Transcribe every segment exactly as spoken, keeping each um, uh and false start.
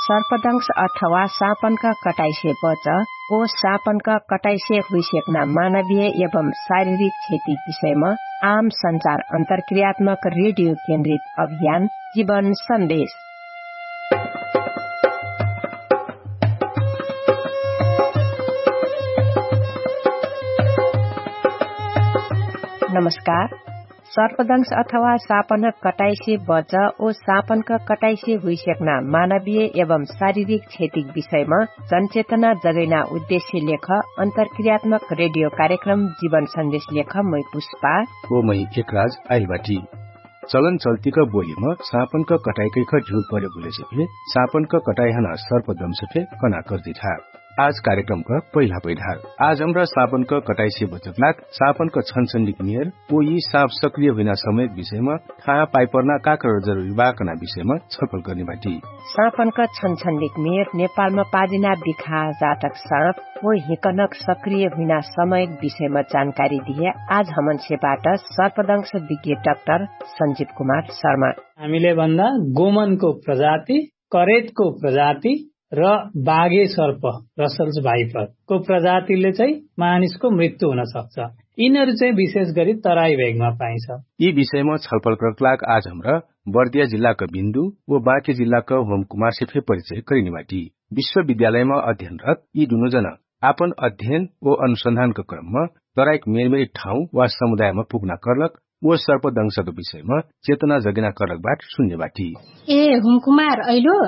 सर्पदंश अथवा साँपनका कटाइसे बच, ओ साँपनका कटाइसे हुइसेक्ना मानवीय एवं शारीरिक क्षति विषयमा आम सञ्चार अन्तर्क्रियात्मक रेडियो केन्द्रित अभियान जीवन सन्देश। नमस्कार। सर्पदंश अथवा साँपनक कटाइसे बच, ओ साँपनक कटाइसे हुइसेक्ना मानवीय एवं शारीरिक क्षतिक विषयमा जनचेतना जगैना उद्देश्य लेख अन्तर्क्रियात्मक रेडियो कार्यक्रम जीवन सन्देश लेख मै पुष्पा। ओ मै एकराज आइलबाटी। चलन चल्तिक बोलिम साँपनक कटाइकैख ढिउर प्रयोग हुलेसे फे साँपनक कटाइहन सर्पदंश फे कना कर्दिठा। आज कार्यक्रमक पहिला पैढार आज हमरा साँपनक कटाइसे बचक लाग साँपनक छनछन्डिक मेर ओ यि साँप सक्रिय हुइना समयक विषयमा थाहा पाइपर्ना काकर जरुरी बा कना विषयमा छलफल कर्निबाटी। साँपनक छनछन्डिक मेर नेपालमा पाजिना बिखा जातक साँप ओ हिकनक सक्रिय हुइना समयक विषयमा जानकारी दिहे आज हमनसे बाट सर्पदंश विज्ञ डाक्टर सन्जिव कुमार शर्मा। हामीले भन्दा गोमनको प्रजाति, करेतको प्रजाति र बाघे सर्प, रसल्स भाइपरको प्रजातिले चाहिँ मानिसको मृत्यु हुन सक्छ। यिनीहरू चाहिँ विशेष गरी तराई भेगमा पाइन्छ। यि विषयमा छलफल करक लाग आज हमरा बर्दिया जिल्लाका बिन्दु व बाँके जिल्लाका होम कुमारसे फे परिचय करिनिबाटी। विश्वविद्यालयमा अध्ययनरत यि दुनोजना आपन अध्ययन व अनुसन्धानका क्रममा तराइक मेरमेरी ठाउँ वा समुदायमा पुग्ना कर्लक व सर्पदंशक विषयमा चेतना जगेना कर्लक बाट सुन्ने बाटी। ए हुमकुमार अइलो,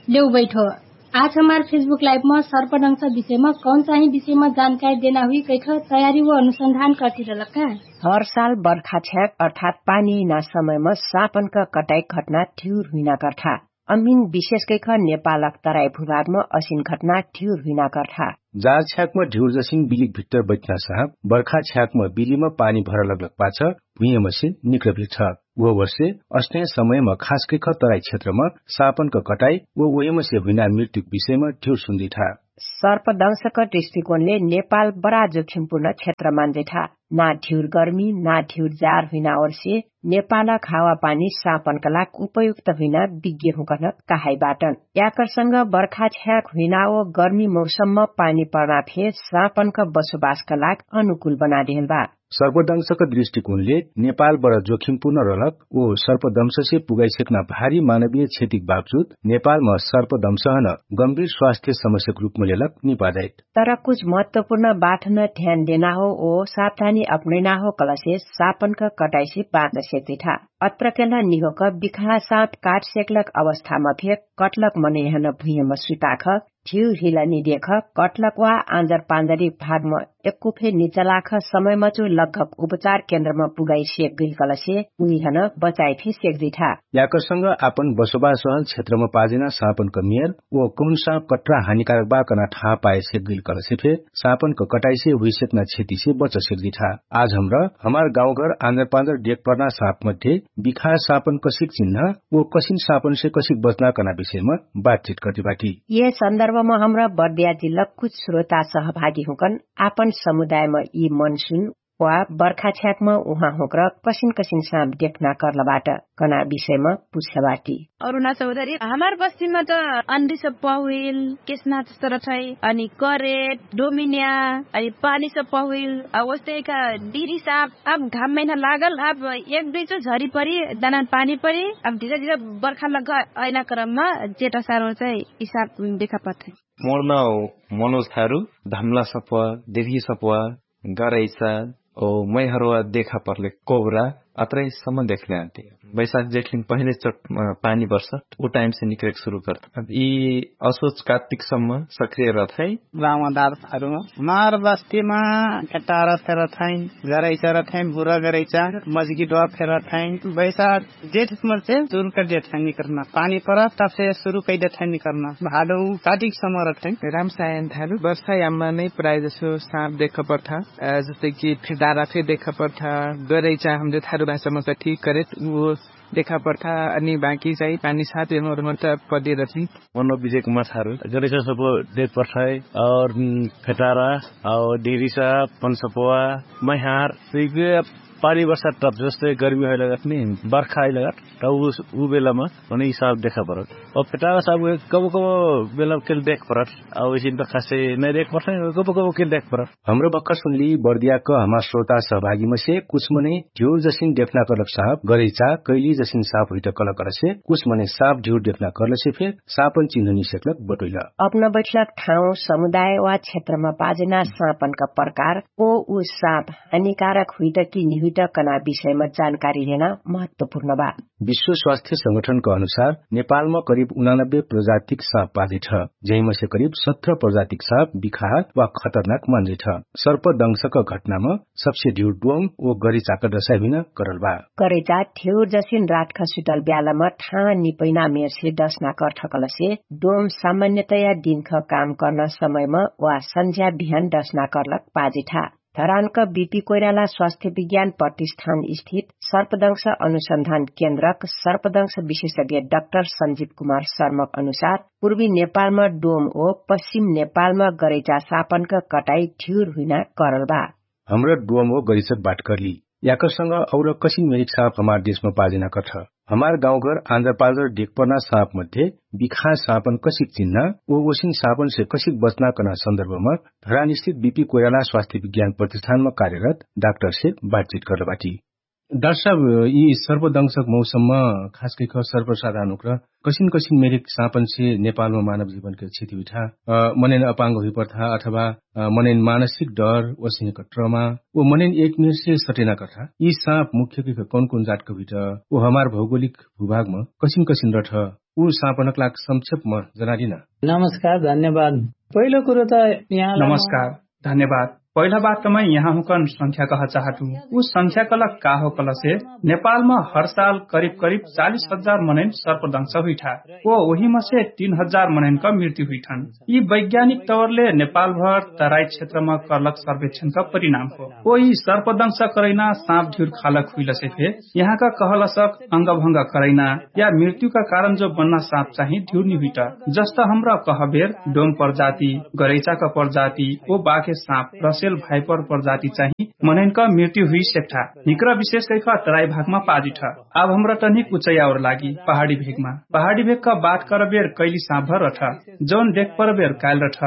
लेउ बैठो। आज हमार फेसबुक लाइफमा सर्पदंशक विषयमा कौन चाहिँ विषयमा जानकारी देना हुई कैख तयारी व अनुसन्धान कर्तिरलक का? हर साल बर्खा छ्याक अर्थात पानी अइना समयमा साँपनका कटाइ घटना ठिउर हुइना कर्था। अमिन विशेष कैख नेपालक तराइ भुभागमा असिन घटना ठिउर हुइना कर्था। जार छ्याकमा ढिउर जसिन बिलिक भित्तर बैठना साँप बर्खा छ्याकमा बिलिमा पानी भरलग्लक पाछ भुइँयमसे निक्रभिर्छ। उह वर्षे अस्ने समयमा खास कैख तराइ क्षेत्रमा साँपनका कटाइ व ओहिमसे हुइना मृत्युक विषयमा ढिउर सुन्दिठा। सर्पदंशक दृष्टिकोणले नेपाल बरा जोखिमपुर्ण क्षेत्र मान्दैठा। ना ढिउर गर्मी ना ढिउर जार हुइना ओर्से नेपालक हावापानी साँपनका लाग उपयुक्त हुइना विज्ञ हुँकन कहाइबाटन। याकरसँग बर्खा छ्याक हुइना ओ गर्मी मौसममा पानी पर्ना फे साँपनका बसोबासका लाग अनुकूल बनादेहल बा। सर्पदंशक दृष्टिकोणले नेपाल बरा जोखिमपुर्ण रलक ओ सर्पदंशसे पुगाइसेक्ना भारी मानवीय क्षतिक बावजुद नेपालमा सर्पदंशहन गम्भीर स्वास्थ्य समस्याक रूपमा लेलक निपादाइत। तर कुछ महत्वपुर्ण बाठन ध्यान देना हो ओ सावधानी अपनैना हो कलसे सापनक कटाइसे बाँच सेक्जिठा। अत्रकेल्ह निहोक बिखा साप काट सेक्लक अवस्थामा फे कटलक मनैहन भुइहम सुइपाख ठिउ हिला निदेख कटलक वा आँजर पाँजरी भागम एक्कु फे निचलाख समयमचु लगभग उपचार केन्द्रमा पुगाइ सेक्गैल कलसे उहिहन बचाइ फे सेक्जिठा। याकरसँग आपन बसोबास रहल क्षेत्रमा पाजेना सापनक मेर ओ कहुन साप कट्रा हानिकारक बा कना ठाहा पाए सेक्गैल कलसे फे सापनक कटाइसे हुइसेक्ना क्षतिसे बच सेक्जिठा। आज हमरा हमार गाउँघर आँजर पाँजर डेक पर्ना सापमध्ये बिखा सापन कसिक चिन्हा ओ कसिन सापनसे कसिक बच्ना कना विषयमा बातचित कर्तिबाटी। ये सन्दर्भमा हमरा बर्दिया जिल्ला कुछ स्रोता सहभागी हुँकन आपन समुदायमा यि मनसुन वा बर्खा छ्याकमा उहाँ हुँक्र कसिन कसिन साप देख्ना कर्लबाट कना विषयमा पुछ्लबाटी। अरुणा चौधरी हमार बस्तीमा त अन्दिस पहुइल केसना जस्तो रठै अनि करेट डोमिन्या अनि पानी सब पहुइल। ओस्तै का डिरी साप अब घाम महिना लागल अब एक दुई चो झरी परी दाना पानी परी अब धिरे धिरे बर्खा लग्ग अइना क्रममा जेटा सारो चाहिँ यि साप देखा पर्थे। मोर नाउ मनोज थारु धमला सप्वा देवी सप्वा गरैचा ओ मैहरवा देखा पर्ले कोब्रा अत्रैसम्म देखले आते। बैशाख जेठलिङ पहिले चोट पानी बर्ष उ टाइमसे निक्रेक सुरु कर्त अब यि असोच कात्तिकसम्म सक्रिय रथै। रामदारहरू हमार बस्तीमा केटारा फेरथैन गरैचा रथैन बुरा गरैचा मजगी डोवा फेरथैन बैशाख जेठ मर्चे सुरु कर देथैन निकर्ना पानी पर तबसे सुरु कै देथैन निकर्ना भाडो काटिक समर रथैन। रामसायन थारु वर्षा याममा नै प्राय जसो साप देख पर्था। जस्तै कि फेदारा फे देख पर्था गरैचा हमरे थारु भाषामा कठी करे उ देखा पर्था। अनि बाकी चाहिँ पानी सात एमर मर्चा पदे रथैन। मनो विजय कुमार थारु गरैचा सब देख पर्था है और फेदारा और डेरीसा पनसपवा मैहार सिग पानी बर्षा टप जस्तै गर्मी हैलगत नि बर्खा हैलगत त उ बेलामा मने यि साप देखा परत। अब फेटावा साप कबो कबो बेला केल देख परत। अब यसिन त खासे नै देख परत, कबो कबो केल देख परत। हमरो भक्खर सुनली बर्दियाक हमार श्रोता सहभागीमसे कुछ मनै ढ्युर जसिन डेफना करलक साप गरैचा कैली जसिन साप हुइट कलकरसे कुछ मनै साप ढ्युर डेफना करलसे फेर सापन चिन्हनी सेक्लक बटोइल। अपना बैठलक ठाउँ समुदाय वा क्षेत्रमा पाजेना सापनका प्रकार ओ उ साप हानिकारक हुइट कि निहुइट कना विषयमा जानकारी लेना महत्वपूर्ण बा। विश्व स्वास्थ्य संगठनका अनुसार नेपालमा करिब उनानब्बे प्रजातिक साप पाजेठ। जहिमसे करिब सत्र प्रजातिक साप बिखार वा खतरनाक मान्जेठ। सर्पदंशक घटनामा सबसे ढ्युर डोम ओ गरैचाक डसाइ हुइना करल बा। गरैचा ठ्युर जसिन रातख सुतल ब्यालमा ठान निपैना मेरसे डसना कर्ठकलसे डोम सामान्यतया दिनख काम कर्ना समयमा वा सन्झ्या बिहान डसना कर्लक पाजेठा। धरानक बिपी कोइराला स्वास्थ्य विज्ञान प्रतिष्ठान स्थित सर्पदंश अनुसन्धान केन्द्रक सर्पदंश विशेषज्ञ डक्टर सन्जिव कुमार शर्मक अनुसार पूर्वी नेपालमा डोम ओ पश्चिम नेपालमा गरैचा सापनक कटाई ढ्युर हुइना करल बा। हमरा डोम ओ गरैचक बात कर्ली याकरसँग और कसिन मेरिक साप हमार देशमा पाजेना कर्ठ। हमार गाउँघर आन्द्रपाल र डेकपर्ना साप मध्ये बिखा सापन कसिक चिन्ना ओ ओसिन सापनसे कसिक बच्ना कर्ना सन्दर्भमा धरानस्थित बिपी कोइराला स्वास्थ्य विज्ञान प्रतिष्ठानमा कार्यरत डाक्टरसे बातचित कर्ल बाटी। डाक्टर साहब, यि सर्पदंशक मौसममा खास कैख सर्पसाधारण उक्र कसिन कसिन मेरिक सापनसे नेपालमा मानव जीवनके क्षति हुइठा? मनैन अपाङ्ग हुइपर्था अथवा मनैन मानसिक डर ओसहिक ट्रमा ओ मनैन एक मेरसे सटेना कर्था यि साप मुख्य कैख कौन कौन जातक हुइठ? ओ हमार भौगोलिक भूभागमा कसिन कसिन रठ? उ सापनक लाग संक्षेपमा जनादिना। नमस्कार, धन्यवाद। पहिलो कुरो त यहाँ नमस्कार, धन्यवाद। पहिला बात त मै यहाँहुँकन संख्या कह चाहतु। उ संख्या कलक का हो कलसे नेपालमा हर साल करिब करिब चालिस हजार मनैन सर्पदंश हुइठा। ओ ओहिमसे तीन हजार मनैनक मृत्यु हुइठन। यि वैज्ञानिक तवरले नेपालभर तराई क्षेत्रमा कर्लक सर्वेक्षणक परिणाम हो। ओ यि सर्पदंश करैना साप ढ्युर खालक हुइलसे फे यहाँका कहलसक अंगभंग करैना या मृत्युका कारण जो बन्ना साप चाहि ढ्युर निहुइट। जस्त हमरा कहबेर डोम प्रजाति, गरैचाक प्रजाति, ओ बाके साप रसेल भाइपर प्रजाति चाहि मनैनक मृत्यु हुइ सेक्ठा। हिक्र विशेष कैख तराई भागमा पाजिठ। आब हमरा तनिक उचैयावर लागि पहाडी भेगमा पहाडी भेगक बात करबेर कैली साप भर रठ। जौन देख परबेर काइल रठ।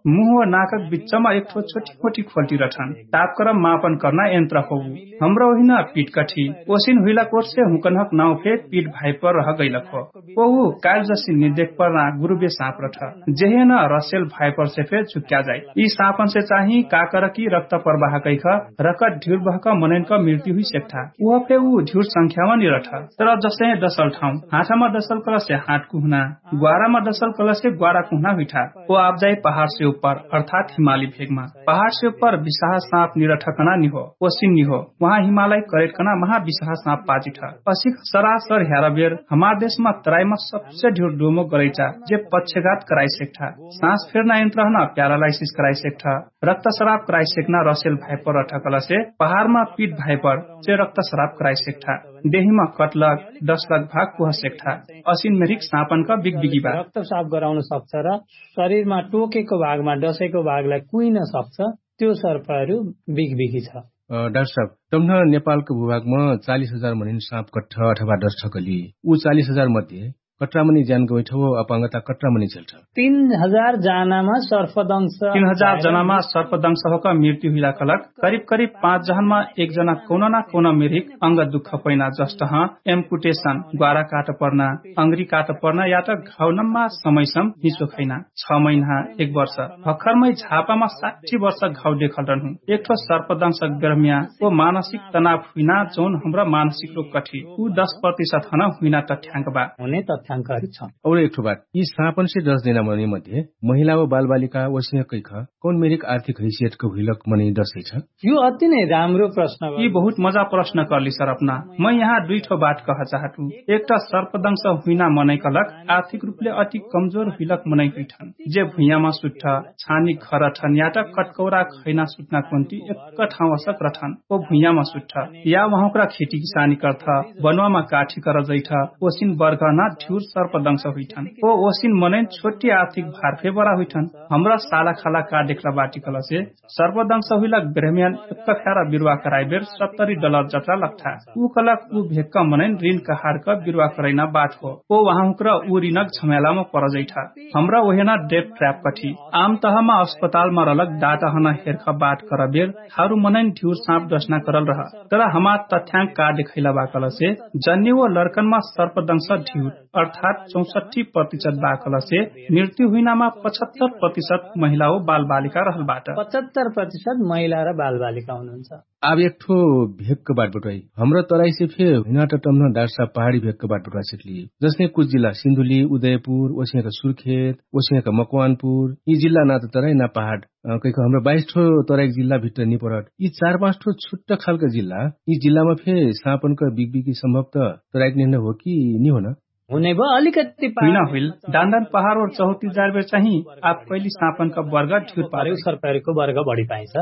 मुह वा नाकक बिच्चमा एकठो छोटी मोटी खोल्टी रठन। तापक्रम मापन कर्ना यन्त्र हो। हमरा ओहिना पिटकठी ओसिन हुइला कोर्से हुँकनहक नाउ फे पिट भाइपर रह गैलक हो। ओहु काइल जसिन निदेख पर्ना गुरुबे साप रठ। जेहेन रसेल भाइपर से फे झुक्या जाइ। यि सापन से चाहि काकर कि रक्त प्रवाह कैख रकत ढिउर बहक मनैनक मृत्यु हुइ सेक्ठा। उह फे उ ढिउर संख्यामा निरठ। तर जसै डसल ठाउँ हाठमा डसल कलसे हाट कुहना ग्वारामा डसल कलसे ग्वारा कुहना हुइठा। ओ आबजाइ पहाडसे उप्पर अर्थात हिमाली भेगमा पहाडसे उप्पर बिसाहा साप निरठकना निहो। ओसिन निहो उहाँ हिमालाई करेटकना महा बिसाहा साप पाजिठ। असिक सरासर ह्यारबेर हमार देशमा तराइमा सबसे ढिउर डोमो गरैचा जे पक्षघात कराइसेक्ठा। सास फेर्ना यन्त्रहन प्यारालाइसिस कराइसेक्ठा। रक्तस्राप कराइसेक्ना रसेल भाइपर रठकलसे पहारमा पिट भाइपर जे रक्तस्राप कराइसेक्ठा। देहिमा कटलक डसलक भाग कुहसेक्ठा। असिन मेरिक सापनक बिगबिगी बा। रक्तस्राप गराउन सक्छ र शरीरमा टोकेको भागमा डसेको भागलाई कुइन सक्छ। त्यो सर्पहरू बिगबिगी छ। डाक्टर साहब, तम्ह नेपालको भूभागमा चालिस हजार मनिन साप कट्ठ अथवा डस्ठकली उ चालिस हजार मध्ये कट्रामनी ज्यान गवैठ हो अपाङ्गता कट्रामनी झेल्ठ? तीन हजार जनामा सर्पदंश तीन हजार जनामा सर्पदंश होका मृत्यु हुइला कलक करिब करिब पाँच जहनमा एक जना कौन ना कौन मेरिक अंग दुख पैना जस्टह एम्पुटेशन ग्वारा काट पर्ना अंग्री काट पर्ना या त घाउनम्मा समयसम हिचो खैना छ महिना एक वर्ष भक्खरमै झापामा साठी वर्ष घाउ देखल रहनु। एकठो सर्पदंशक बेरम्या ओ मानसिक तनाव हुइना जौन हमरा मानसिक रोग कठी उ दस प्रतिशत हन हुइना तथ्याङ्क बा। हुने तथ्याङ्कहरू छन्। और एकठो बात यी सापनसे दस दिना मनै मध्ये महिला व बालबालिका वसिह कैख कौन मेरिक आर्थिक हैसियतको हुइलक मनै दसै छ? यो अति नै राम्रो प्रश्न। यी बहुत मजा प्रश्न कर्ली सरपना। मै यहाँ दुइठो बात कह चाहतु। एकटा सर्पदंश हुइना मनै कलक आर्थिक रूपले अति कमजोर हुइलक मनै हुइठन जे भुइयामा सुट्ठ छानी खरठन या त कटकौरा खैना सुट्ना कोन्ती एक ठाउँसक रठन ओ भुइयामा सुट्ठ या उहाँकरा खेतीकिसानी कर्थ बनवामा काठी करजैठ ओसिन बर्गना सर्पदंश हुइठन। ओ ओसिन मनैन छोट्टी आर्थिक भार फे बरा हुइठन। हमरा साला खाला का देखला बाटी कलसे सर्पदंश हुइला ब्रह्मयान एक्क फ्यारा बिरुवा कराइबेर सत्तरी डलर जत्रा लग्ठा। उ कलक उ भेक्क मनैन रिन कहारक बिरुवा करैना बाट हो। ओ वहाँ हुक्र उ रिनक झम्यालाम परजैठा। हमरा ओहेना डेप ट्र्याप कठी। आम तहमा अस्पतालमा रलक डाटहन हेर्ख बाट करबेर थारु मनैन ढिउर साँप डस्ना करल रह। तर हमार तथ्याङ्क का देखैला बाकलसे जन्ने ओ लर्कनमा सर्पदंश ढिउर अर्थात् चौसट्ठी प्रतिशत बाकलसे मृत्यु हुइनामा पचहत्तर प्रतिशत महिला ओ बालबालिका रहल बाट। पचहत्तर प्रतिशत महिला र बालबालिका हुनुहुन्छ। आब एकठो भेक्क बाट बटवाइ हमरा तराइसे फे हुइनाट टम्न डार्सा पहाडी भेक्क बाट बटवाइ सकली। जसने कुछ जिल्ला सिन्धुली उदयपुर ओसियाँका सुर्खेत ओसियाँका मकवानपुर यि जिल्ला नात तराइ ना पहाड। कैक हमरा बाइस ठो तराइक जिल्ला भित्र निपरट यि चार पाँच ठो छुट्ट खालका जिल्ला यि जिल्लामा फे साँपनक बिगबिगी सम्भवत तराइक नेहन हो कि निहोन? हुनै भो अलिकति हुइन हुइल। दान्दान पहाड ओर चहुती जारबेर चाहिँ आप कैली साँपनका वर्ग ठिउर पारे सरकारीको वर्ग बढी पाइन्छ।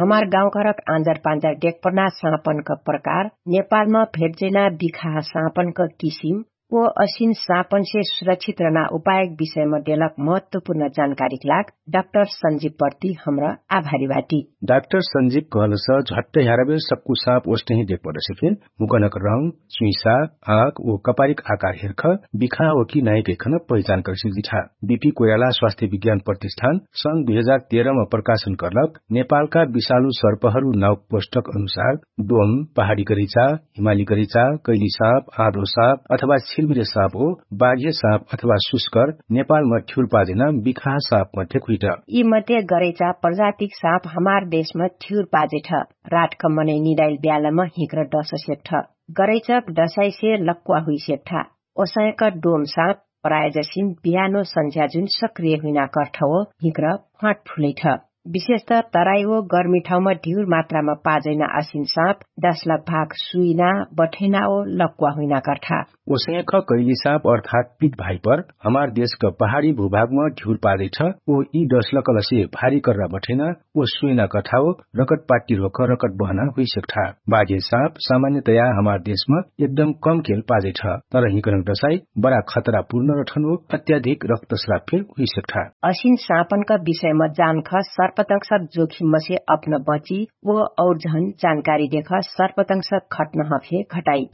हमार गाउँघरक आँजर पाँजर डेकपर्ना साँपनक प्रकार नेपालमा भेटजैना बिखाह साँपनक किसिम ओ असिन साँपनसे सुरक्षित रहना उपायक विषयमा देलक महत्वपूर्ण जानकारीक लाग डाक्टर सन्जिव पर्ति हमरा आभारी बाटी। डाक्टर सन्जिव कहलस झट्ट ह्याराबेर सक्कु साँप ओस्टही देख परसे फेर मुकनक रङ चुइसा आँक ओ कपारिक आकार हेर्ख बिखा हो कि नाइक एखन पहिचान करसिक जिठा। बिपी कोइराला स्वास्थ्य विज्ञान प्रतिष्ठान सङ्ग दुई हजार तेह्रमा प्रकाशन कर्लक नेपालका विशालु सर्पहरू नाउक पोष्टक अनुसार डोम पहाडी करैचा हिमाली करैचा कैली साँप आँधो साँप अथवा छिरमिरे साँप हो बाघे साँप अथवा सुस्कर नेपालमा ठ्युर पाजेना बिखाह साँप मध्ये खुइट। यि मध्ये गरैचा प्रजातिक साँप हमार देशमा ठ्युर पाजेठ। राटक मनै निदाइल ब्यालमा हिक्र डस सेक्ठ। गरैचक डसाइसे लक्वा हुइ सेक्ठा। ओसायक डोम साँप प्रायजसिन बिहानो सन्झ्याजुन सक्रिय हुइना कर्ठओ हिक्र फाँट फुलैठ। विशेषत तराई ओ गर्मी ठाउँमा ढिउर मात्रामा पाजैना असिन साँप दसलक भाग सुइना बठैना ओ लक्वा हुइना कर्ठा। ओसैख कैली साँप अर्थात् पित भाइपर हमार देशक पहाडी भूभागमा ढिउर पाजैठ। ओ यि दसलकलसे भारी कर्रा बठैना ओ सुइना कठाओ रकट पाट्टी रोक रकट बहना हुइसेक्ठा। बाजे साँप सामान्यतया हमार देशमा एकदम कम केल पाजैठ। तर हिकनक दसाई बडा खतरापूर्ण रठन ओ अत्याधिक रक्तस्राप फेर हुइसेक्ठा। असिन साँपनक विषयमा जानख सर्पतंगसक जोखिममसे अप्न बची ओ और झन जानकारी देख सर्पतंगसक घटनह फे घटाई।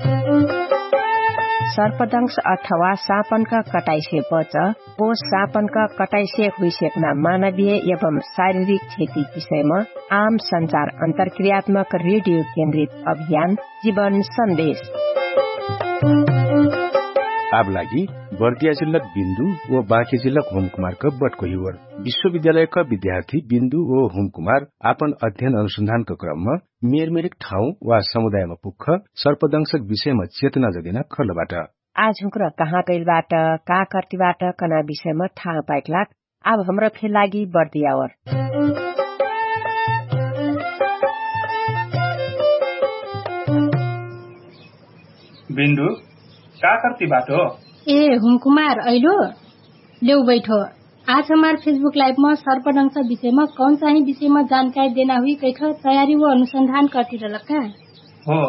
सर्पतंगस अथवा साँपनक कटाइसे बच ओ साँपनक कटाइसे हुइसेक्ना मानवीय एवं शारीरिक क्षति विषयमा आम सञ्चार अन्तरक्रियात्मक रेडियो केन्द्रित अभियान जीवन सन्देश। आब लागि बर्दिया जिल्लक बिन्दु ओ बाँके जिल्लक होमकुमारक बटको हिवर विश्वविद्यालयक विद्यार्थी बिन्दु ओ होमकुमार आपन अध्ययन अनुसन्धानक क्रममा मेरमेरिक ठाउँ वा समुदायमा पुग्ख सर्पदंशक विषयमा चेतना जगेना खर्लबाट। आज हुँक्र कहाँ कैलबाट का कर्तिबाट कना विषयमा थाहा पाइकलाक आब हमरा फे लागि बर्दियावर। बिन्दु का कर्तिबाट हो? ए हुमकुमार अइलो। लेउ बैठो। आज हमार फेसबुक लाइफमा सर्पडंस विषयमा कौन चाहिँ विषयमा जानकारी देना हुइ कैख तयारी व अनुसन्धान कर्तिरलक का? हो।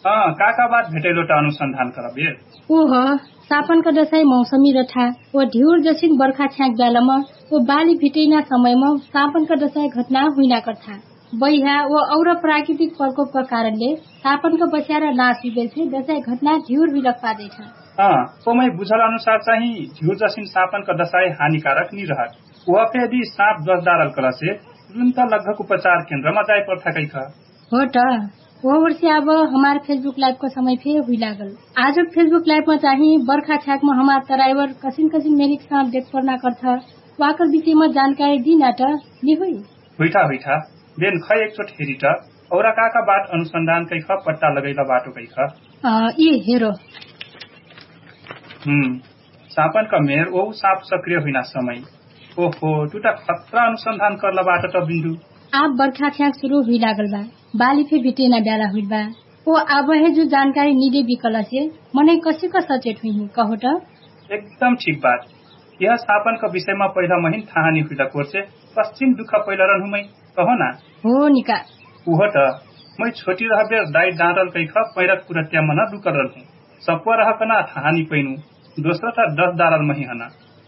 अँ का का बात भेटैलोटा अनुसन्धान करबे? ओह, सापनका दसाई मौसमी रठा ओ ढिउर जसिन बर्खा छ्याक ब्यालम ओ बाली भिटैना समयम सापनका दसाई घटना हुइना कर्ठा। बैहा ओ और प्राकृतिक प्रकोपका कारणले सापनका बस्यारा नाश हुइगेल छे दसाई घटना ढिउर हुइलक पादैछ। अँ, ओमै बुझल अनुसार चाहिँ ढिउर जसिन सापनका दसाई हानिकारक निरहत। ओहफे यदि साप दसदारल कलसे तुरुन्त लगभग उपचार केन्द्रमा जाइपर्ठा कैख। हो त। ओहवर्षी आब हमार फेसबुक लाइफको समय फे हुइलागल। आजक फेसबुक लाइफमा चाहिँ बर्खा छ्याकमा हमार तराइवर कसिन कसिन मेरिक साँप देखपर्ना कर्थ वाकर विषयमा जानकारी दिना त निहुइ। हुइठा हुइठा। बेन खै एकचोट हेरिट औरा काका बाट अनुसन्धान कैख पट्टा लगैला बाटो कैख। यि हेरो। सापनका मेर ओहु साप सक्रिय हुइना समय। ओहो टुटा खत्रा अनुसन्धान कर्ला बाट त बिन्दु। आब बर्खा छ्याक सुरु हुइलागल बा। बाली फे भिटेना ब्याला हुइल बा। ओ आबहे जु जानकारी निदे बिकलसे मनै कसिक सचेत हुइही कहो त? एकदम ठीक बात। यह सापनका विषयमा पहिला महिन थाहानी हुइला कोर्से कस्चिन दुख पहिला रन हुमै कहो ना? हो निका। उहो त। मै छोटी रहबेर दाइ डाँडल कैख पैरक पुरत्यामन लुकल रहलहुँ। सप्वा रहकन थाहानी पैनु। दोस्रा त दस डाँडल महिहन।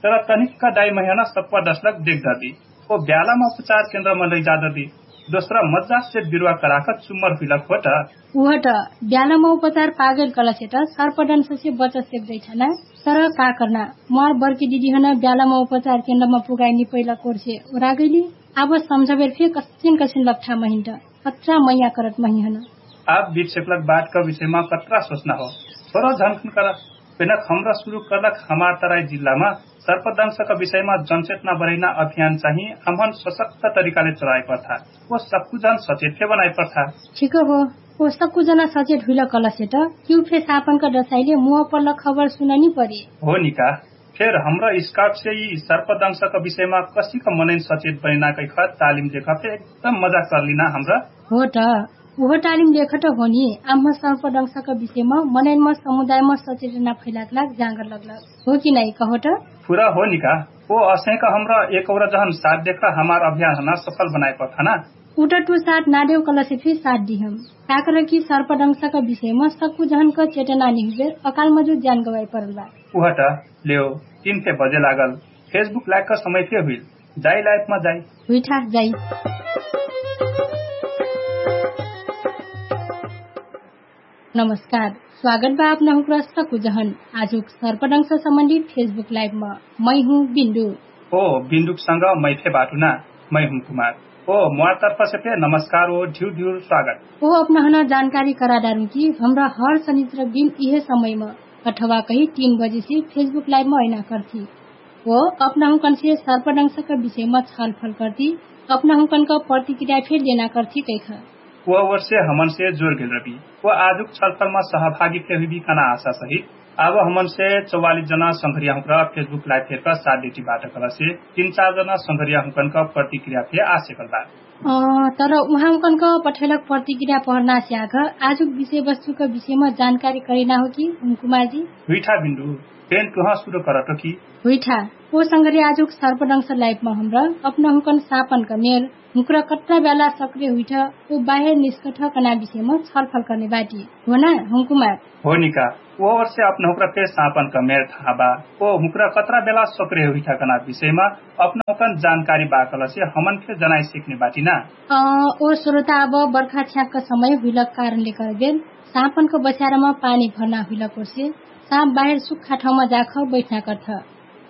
तर तनिक्क दाइ महिहन सप्वा दसलक देख दर्दी। ओ ब्यालामा उपचार केन्द्रमा लैजा दर्दी। दोस्रा मज्जासे बिरुवा कराक चुम्मर हुइलक होट। उहट ब्यालामा उपचार पागेल कलसेट सर्पडन्ससे बचसेक जैठना। तर का कर्ना, म्वार बर्की दिदीहन ब्यालामा उपचार केन्द्रमा पुगाइ निपैलक ओर्से ओरागैली। आब सम्झबेर फे कसिन कसिन लप्ठा महिन्ट। कत्रा मैया करत महिहन। आब बिर्सेकलक बाटक विषयमा कत्रा सोच्ना हो? थोरो झन्खन कर। पेनक हमरा सुरु कर्लक हमार तराई जिल्लामा सर्पदंशक विषयमा जनचेतना बरैना अभियान चाहि हमहन सशक्त तरिकाले चलाइ पर्था। ओ सक्कु जन सचेत फे बनाइ पर्था। ठिक हो। ओ सक्कु जना सचेत हुइल कलसेट किउ फे सापनक दसाइले मुह पर्लक खबर सुननी परे। हो निका। फेर हमरा स्काउटसे यि सर्पदंशक विषयमा कसिक मनैन सचेत बनैना कैख तालिम देखा फे एकदम मजा कर्लिना हमरा। हो त। उहो तालिम देखा त होनी। आम्ह सर्पदंशक विषयमा मनैनमा समुदायमा सचेतना फैलाक लाग जाँगर लग्लक हो कि नाइ कहो त? पुरा हो निका। ओ असैक हमरा एक औरा जहन साथ देखा हमार अभियान हना सफल बनाइ पठाना। उटटु साथ नादेउ कलसे फे साथ दिहम। काकर कि सर्पदंशक विषयमा सक्कु जहनक चेतना निहुबेर अकालमा जो ज्यान गवाइ परल बा। उहट लेउ। तिन फे बजे लागल। फेसबुक लाइक क समय फे हुइल। जाइ लाइफमा जाइ। हुइठा जाइ। नमस्कार। स्वागत बा अपना हुँक्रा सक्कु जहन आजुक सर्पदंश सम्बन्धी फेसबुक लाइफमा। मै हुँ बिन्दु। ओ बिन्दुक संग मै फे बाटु ना। मै हुँ कुमार। ओ म्वार तर्फसे फे नमस्कार ओ ढिउर ढिउर स्वागत। ओ अपना हना जानकारी करादारु कि हमरा हर सनिचर बिन इहे समयमा अथवा कही तीन बजेसे फेसबुक लाइफमा अइना कर्थी। ओ अपना हुँकनसे सर्पदंशक विषयमा छलफल कर्ती। अपना हुँकनक प्रतिक्रिया फे लेना कर्ती कैख। ओ ओर्से हमनसे जोर गेल रबी। ओ आजुक छलफलमा सहभागी फे हुइबी कना आशा सहित आब हमनसे चौवालिस जना संघरिया हुँक्रा फेसबुक लाइफ फेरका साथ देटी बाटक लसे तीन चार जना संघरिया हुँकनक प्रतिक्रिया फे आसेकल बा। तर उहाँ हुँकनक पठैलक प्रतिक्रिया पहर्ना स्याघ आजुक विषयवस्तुक विषयमा जानकारी करिना हो कि हुँकुमार जी? हुइठा बिन्दु। पेन तुहाँ सुरु करटो कि? हुइठा। ओ संघरिया आजुक सर्पदंश लाइफमा हमरा अपना हुँकन सापनक मेर हुँक्रा कत्रा ब्याला सक्रिय हुइठ ओ बाहेर निस्कठ कना विषयमा छलफल कर्ने बाटी। हो ना हुँकुमार? हो निका। ओ ओर्से अपना हुँक्रा फे सापनक मेर थाहा बा। ओ हुँक्रा कत्रा ब्याला सक्रिय हुइठ कना विषयमा अपना हुँकन जानकारी बा कलसे हमन फे जनाइ सिक्ने बाटी ना। ओ स्रोता अब बर्खा छ्याक्क समय हुइलक कारणले करबेर सापनक बस्यारमा पानी भर्ना हुइलक ओर्से साप बाहेर सुक्खा ठाउँमा जाख बैठना कर्थ।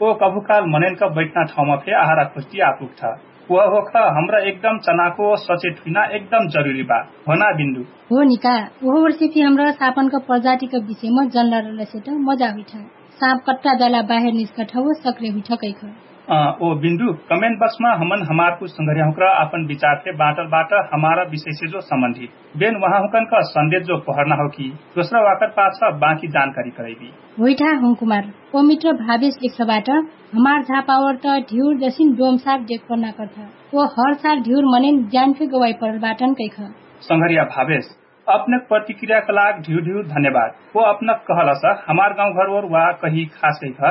ओ कभुकाल मनैनक बैठना ठाउँमा फे आहारा खोज्टी आपुग्ठ। उह होख हमरा एकदम चनाको सचेत हुइना एकदम जरुरी बा। हो ना बिन्दु? हो निका। उह ओर्से फे हमरा सापनक प्रजातिक विषयमा जनला रलसेट मजा हुइठ। साप कत्ता ब्याला बाहेर निस्कठ ओ सक्रिय हुइठ कैख। ओ बिन्दु कमेन्ट बक्समा हमन हमारकु संघर्याहुँक्रा आपन विचार फे बाँटल बाट हमारा विषयसे जो सम्बन्धित बेन उहाँहुँकनक सन्देश जो पहर्ना हो कि दोस्रा वाकर पाछ बाँकी जानकारी करैबी। होइठा हुँकुमार। ओ मित्र भावेश लिख्छ बाट हमार झापावर त ढिउर जसिन डोम साप देख पर्ना कर्थ। ओ हर साल ढिउर मनेन ज्यान फे गवाइ परल बाटन कैख। संघरिया भावेश, अपनक प्रतिक्रियाक लाग ढिउर ढिउर धन्यवाद। ओ अपनक कहलस हमार गाउँघर ओर वा कही खास कैख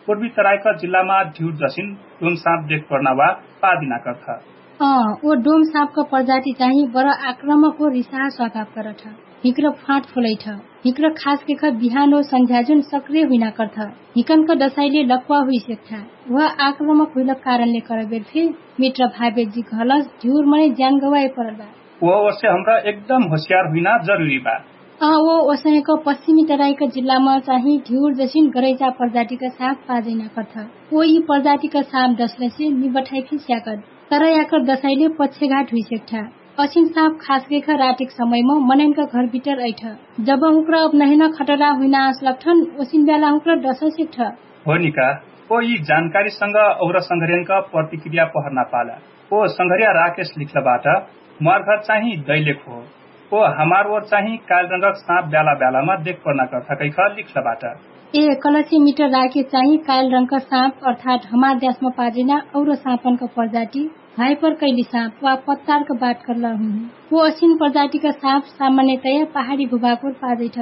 पूर्वी तराइक जिल्लामा ढिउर जसिन डोम साप देख पर्ना वा पादिना कर्थ। अँ, ओ डोम साँपक प्रजाति चाहिँ बर आक्रमक हो रिसाह स्वाभाव करठ। हिक्र फाँट फुलैठ। हिक्र खास केख बिहान हो सन्झ्याजुन सक्रिय हुइना कर्थ। हिकनक दसाइले लक्वा हुइसेक्ठा। उह आक्रमक हुइलक कारणले करबेर फे मित्र भावेजी घलस ढिउर मनै ज्यान गवाए परल बा। उह ओर्से हमरा एकदम होसियार हुइना जरुरी बा। अँ, ओ ओसहेक पश्चिमी तराइक जिल्लामा चाहिँ ढिउर जसिन गरैचा प्रजातिक साँप पाजैना कर्थ। ओ यि प्रजातिक साँप दसलसे निबठाइ फि स्याकत। तर याकर दसाइले पच्छेघाट हुइसेक्ठा। असिन साँप खासगेख रातिक समयम मनैनक घरभिटर अइठ। जब हुँक्र अपनहिन खटरा हुइना आँसलक्ठन ओसिन ब्याला हुँक्र दससेक्ठ। हो निका। ओ यि जानकारीसँग और संघर्यनक प्रतिक्रिया पहर्ना पाला। ओ संघर्या राकेश लिख्लबाट म्वार घर चाहिँ दैलेख हो। ओ हमार ओर चाहिँ काइल रङ्गक साँप ब्याला ब्यालामा देख पर्ना कर्था कैख लिख्लबाट। ए कलसी मिटर राके चाहिँ काइल रङ्गक साँप अर्थात हमार द्यासमा पाजैना और साँपनक प्रजाति भाइपर कैली साँप वा पत्तारक बात कर्ला हुँ। ओ असिन प्रजातिक साँप सामान्यतया पहाडी भुभाकोर पाजैठ।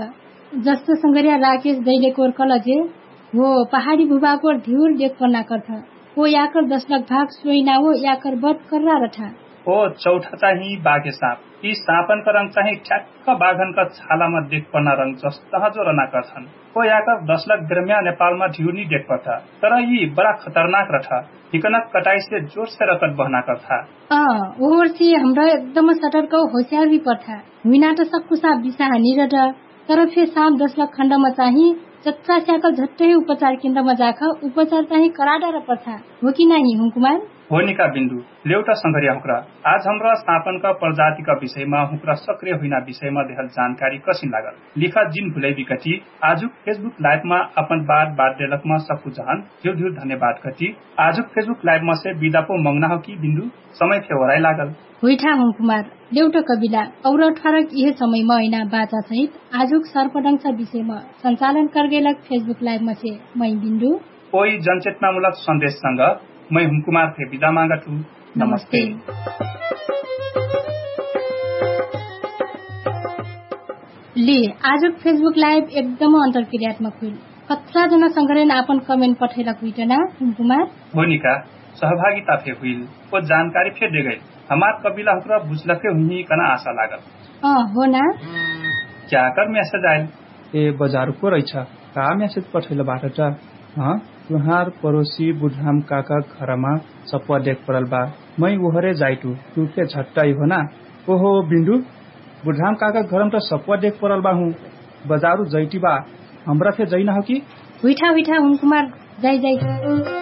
जस्तो संघर्या राकेश दैलेकोर कलजे हो पहाडी भुभाकोर ढिउर देख पर्ना कर्था। ओ याकर दसलक भाग सोइना ओ याकर बत कर्रा रठा। ओ चौठा चाहिँ बाके साँप। यि साँपनका रंग चाहिँ ठ्याक्क बाघनका छालामा देखपर्ना रंग जस्तहाँ जो रनाकर छन्। को याकर दशलक ग्रम्या नेपालमा ढिउर नि देखपर्था, तर यि बडा खतरनाक रठा। हिकनक कटाइसे जोरसे रकत बहनाकर था। अँ, ओहोरसे हमरा एकदम सटरक होस्यार भी पर्था। हुइना त सक्कु साँप बिसाहा निरट, तर फे साँप दशलक खण्डमा चाहिँ चच्चा स्याकल झट्टै उपचार केन्द्रमा जाख। उपचार चाहिँ कराडर पर्था। हो कि नाही हुँकुमार? हो निका बिन्दु, लेउटा संघरिया हुँक्रा। आज हमरा साँपनका प्रजातिका विषयमा हुँक्रा सक्रिय हुइना विषयमा देहल जानकारी कसिन लागल लिखा जिन भुलै बिकटी। आजुक फेसबुक लाइभमा अपन बात बात देलकमा सक्कु जहन धिउर धिउर धन्यवाद कटी। आजुक फेसबुक लाइभमा से बिदापो मङ्ना हो कि बिन्दु, समय फे ओराइ लागल। हुइठा हुँकुमार, लेउटा कबिला और अठारक इहे समयमा ऐना बाचा सहित आजुक सर्पडंगसा विषयमा सञ्चालन करगेलक फेसबुक लाइभमा से मै बिन्दु। ओइ जनचेतनामुलक सन्देशसँग मै हुँकुमार फे बिदा मागत हु। नमस्ते। ले, आजुक फेसबुक लाइभ एकदम अन्तरक्रियात्मक हुइल। कत्रा जना संघरेन आपन कमेन्ट पठैलक हुइटना हुँकुमार। होनिका, सहभागिता फे हुइल। ओ जानकारी फे देगैल। हमार कबिला हुँक्रा बुझलके हुइही कना आशा लागल। अँ, हो ना। क्याकर म्यासेज आइल? ए बजारु को रैछ? का म्यासेज पठैल बाटट? हँ, तुहार परोसी बुढ्राम काका घरमा सप्वा देख परल बा। मै उहरे जाइटु, तु फे झट्टै हो ना। ओहो बिन्दु, बुढ्राम काका घरम त सप्वा देख परल बा हु। बजारु जैटी बा, हमरा फे जैना हो कि? हुइठा हुइठा हुँकुमार, जाइ जाइ।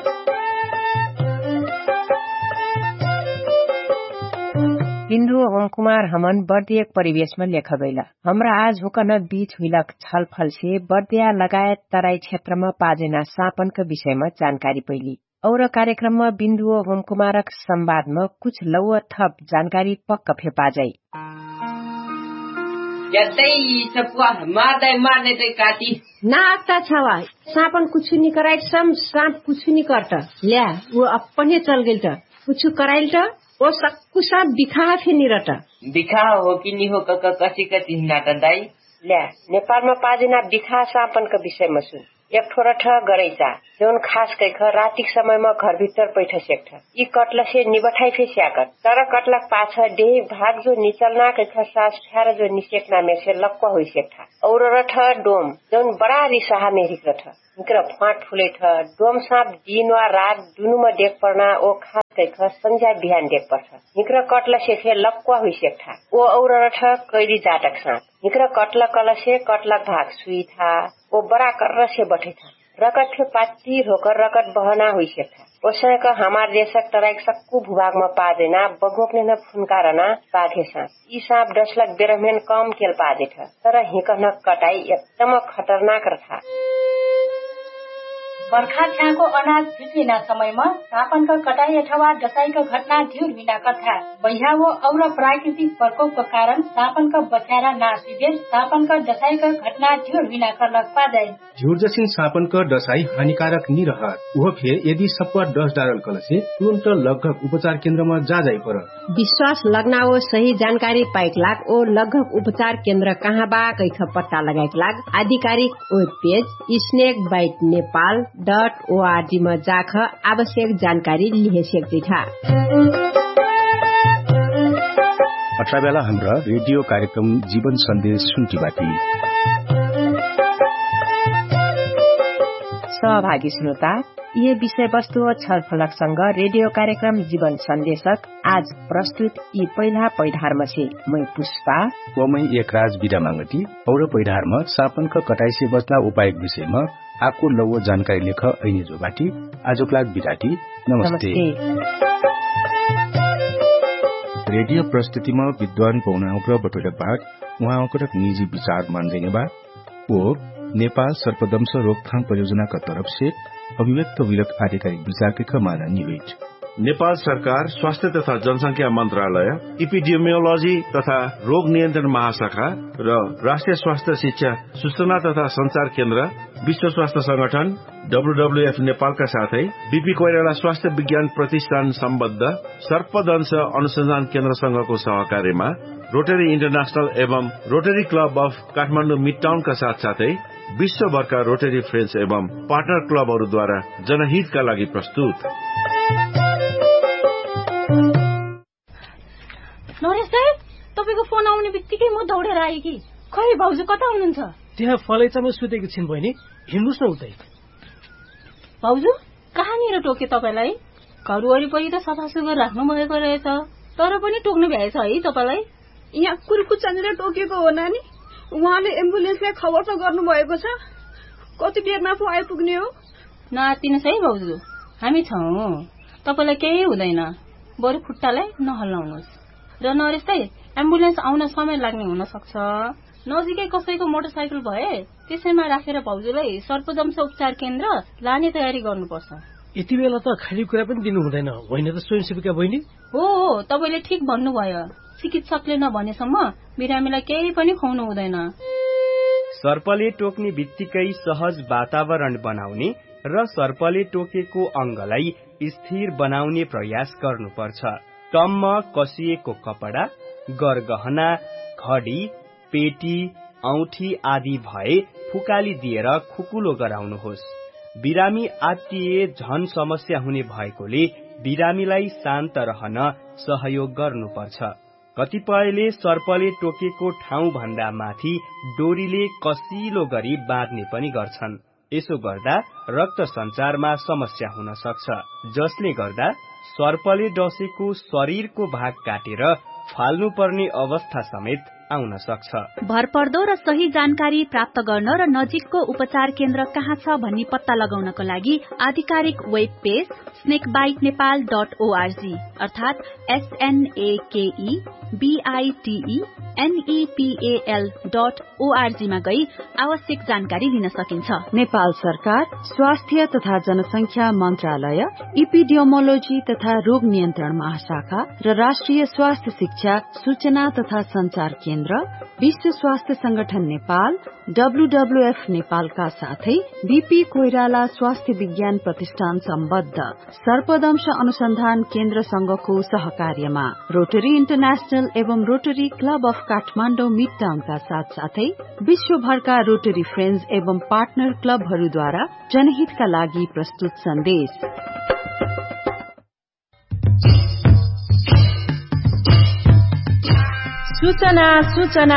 बिन्दु हुँकुमार हमन बर्दियक परिवेशमा लेखा गैला। हमरा आज हुँकन बीच हुइलक छलफलसे बर्दिया लगायत तराई क्षेत्रमा पाजैना साँपनक विषयमा जानकारी पैली। और कार्यक्रममा बिन्दु हुँकुमारक संवादमा कुछ लौवा थप जानकारी पक्क फे पाजै। यतै सप्वा मार दै मार दै दै काटी। ना अक्ता छवा, साँपन कुछु नि कराइट सम साँप कुछु नि कर्त। ल्या, उ अपने चलगेल त। कुछु कराइल त, ओ सक्कु साँप बिखाह फे निरट। बिखाह हो कि नि हो कक कसी कसी हिनाट दाइ? ल्या, नेपालमा पाजिना बिखाह साँपनक विषयमा सुन। एक ठो रठ गरैचा, जौन खास कैख रातिक समयमा घरभित्तर पैठ सेक्ठ। यि कटलसे निबठाइ फे स्याकत। तर कटलक पाछ डेही भाग जो निचल्ना कैख सास फ्यार जो निसेक्ना मेसे लक्वा हुइसेक्ठा। और रठ डोम, जौन बडा रिसाहा मेहरिक रठ। हिक्र फ्वाट फुलैठ। डोम साँप दिन वा रात दुनुमा देख पर्ना ओ खास कैख सन्झ्या बिहान देख पर्छ। हिक्र कटलसे फे लक्वा हुइसेक्ठा। ओ और रठ कैरी जाटक साँप। हिक्र कटलक कलसे कटलक भाग सुइठा। ओ बडा कर्रसे बठैठा। रकत फे पात्ती होकर रकत बहना हुइसेक्ठा। ओसैक हमार देशक तराइक सक्कु भुभागमा पाजैना बगोक नेन फुन्कारना बाघे साँप। यि साँप डसलक बेरहमेन कम केल पाजेठ। तर हिकहनक कटाई एकदम खतरनाक रथा। बर्खा छ्याको अनाज भिटिना समयमा साँपनक कटाई अथवा डसाइक घटना ढिउर हुइना कर्था। बैहा वो और प्राकृतिक प्रकोपक कारण साँपनक बस्यारा नाश हुइबेर साँपनक डसाइक घटना ढिउर हुइना कर्लक पाजै। झिउर्जसिन साँपनक डसाइ हानिकारक निरहत। उहो फे यदि सप्वा डस डारल कलसे तुरुन्त लग्घक उपचार केन्द्रमा जाजाइ पर। विश्वास लग्ना ओ सही जानकारी पाइक लाग ओ लग्घक उपचार केन्द्र कहाँ बा कैख पत्ता लगाइक लाग आधिकारिक web page snake bite Nepal dot O R G मा जाख आवश्यक जानकारी लिहे सेक्दैठा। अठरा बेला हमरा रेडियो कार्यक्रम जीवन सन्देश सुन्टिबाटी। सहभागी श्रोता, यि विषयवस्तु ओ छलफलकसँग रेडियो कार्यक्रम जीवन सन्देशक आज प्रस्तुत यि पहिला पैढारमसे मै पुष्पा। व मै एकराज बिदा मागटी। और पैढारम साँपनक कटाइसे बच्ना उपायक विषयम आको लौव जानकारी लेख ऐने जोबाटी। आजुक लाग बिदाटी। नमस्ते। रेडियो प्रस्तुतिम विद्वान पौनाउक्र बटोइलक भाग उहाँउक्रक निजी विचार मान्जैने बा। ओ नेपाल सर्पदंश रोकथाम परियोजनाका तरफसे अभिव्यक्त हुइलक आधिकारिक विचारके खमाना निवेट। नेपाल सरकार स्वास्थ्य तथा जनसंख्या मन्त्रालय इपिडियोमियोलोजी तथा रोग नियन्त्रण महाशाखा र राष्ट्रिय स्वास्थ्य शिक्षा सूचना तथा सञ्चार केन्द्र विश्व स्वास्थ्य संगठन डब्ल्युडब्ल्युएफ नेपालका साथै बिपी कोइराला स्वास्थ्य विज्ञान प्रतिष्ठान सम्बद्ध सर्पदंश अनुसन्धान केन्द्रसँगको सहकार्यमा रोटरी इन्टरनेशनल एवं रोटरी क्लब अफ काठमाडौँ मिडटाउनका साथसाथै विश्वभरका रोटरी फ्रेन्च एवं पार्टनर क्लबहरूद्वारा जनहितका लागि प्रस्तुत। नरेश दाइ, तपाईँको उनी बित्तिकै म दौडेर आएकी। खै भाउजु कता हुनुहुन्छ? त्यहाँ फलैचामा सुतेकी छिन बहिनी। हिँड्नुस् न उतै। भाउजु, कहाँनिर टोके तपाईलाई? घर वरिपरि त सफासुग्घर राख्नुभएको रहेछ, तर पनि टोक्नु भ्याएछ है तपाईलाई? यहाँ कुर्कुचानिर टोकेको हो नानी। उहाँले एम्बुलेन्सलाई खबर त गर्नुभएको छ? कति बेरमा पो आइपुग्ने हो? नआतिनुस् है भाउजु, हामी छौँ। तपाईलाई केही हुँदैन। बरु खुट्टालाई नहल्लाउनुस्। र नरेश दाइ, एम्बुलेन्स आउन समय लाग्ने हुन सक्छ। नजिकै कसैको मोटरसाइकल भए त्यसैमा राखेर भाउजूलाई सर्पदंश उपचार केन्द्र लाने तयारी गर्नुपर्छ। यति बेला त खाली कुरा पनि दिनु हुँदैन, होइन त स्वयंसेविका बहिनी? हो हो, तपाईले ठिक भन्नुभयो। चिकित्सकले नभनेसम्म बिरामीलाई केही पनि खुवाउनु हुँदैन। सर्पले टोक्ने बित्तिकै सहज वातावरण बनाउने र सर्पले टोकेको अङ्गलाई स्थिर बनाउने प्रयास गर्नुपर्छ। टम्म कसिएको कपडा, गरगहना, घडी, पेटी, औँठी आदि भए फुकाली दिएर खुकुलो गराउनुहोस्। बिरामी आत्तिए झन समस्या हुने भएकोले बिरामीलाई शान्त रहन सहयोग गर्नुपर्छ। कतिपयले सर्पले टोकेको ठाउँभन्दा माथि डोरीले कसिलो गरी बाँध्ने पनि गर्छन्। यसो गर्दा रक्त सञ्चारमा समस्या हुन सक्छ, जसले गर्दा सर्पले डसेको शरीरको भाग काटेर फाल्नुपर्ने अवस्था समेत आउन सक्छ। भरपर्दो र सही जानकारी प्राप्त गर्न र नजिकको उपचार केन्द्र कहाँ छ भन्ने पत्ता लगाउनको लागि आधिकारिक web page snake bite Nepal dot O R G अर्थात् एसएनएकेई बिआइटिई एनइपिएल डट ओआरजीमा गई आवश्यक जानकारी लिन सकिन्छ। नेपाल सरकार स्वास्थ्य तथा जनसंख्या मन्त्रालय, इपिडियोमोलोजी तथा रोग नियन्त्रण महाशाखा र राष्ट्रिय स्वास्थ्य शिक्षा, सूचना तथा सञ्चार केन्द्र, विश्व स्वास्थ्य संगठन नेपाल, डब्ल्युडब्ल्युएफ नेपालका साथै बिपी कोइराला स्वास्थ्य विज्ञान प्रतिष्ठान सम्बद्ध सर्पदंश अनुसन्धान केन्द्रसँगको सहकार्यमा रोटरी इन्टरनेशनल एवं रोटरी क्लब अफ काठमाडौँ मिड टाउनका साथसाथै विश्वभरका रोटरी फ्रेन्ड्स एवं पार्टनर क्लबहरूद्वारा जनहितका लागि प्रस्तुत सन्देश। सूचना, सूचना।